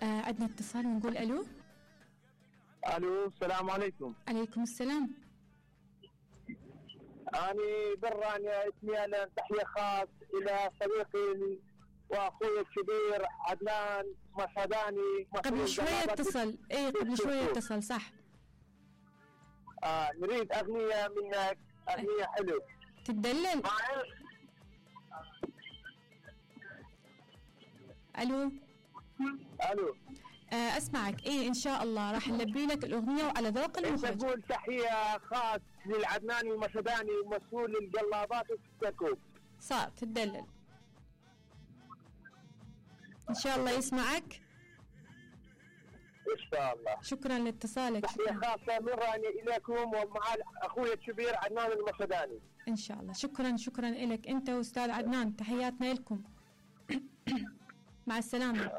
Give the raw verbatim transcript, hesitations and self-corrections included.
آه عندنا اتصال ونقول الو. الو السلام عليكم. عليكم السلام. اني براني اسمي انا تحيه خاص الى صديقي واخوي الكبير عدنان مشهداني. قبل شويه اتصل، اي قبل شويه اتصل صح. آه نريد اغنيه منك، اغنيه حلوه. تدلل. الو الو آه اسمعك. ايه ان شاء الله راح نلبي لك الاغنيه وعلى ذوق المخرج. اقول تحيه خاص للعدناني المشهداني مسؤول القلابات والسكوب. صار تدلل ان شاء الله يسمعك ان شاء الله. شكرا لاتصالك. تحيه خاصه من راني اليكم ومع اخوي الكبير عدنان المشهداني. ان شاء الله. شكرا شكرا لك انت واستاذ عدنان، تحياتنا لكم. مع السلامه.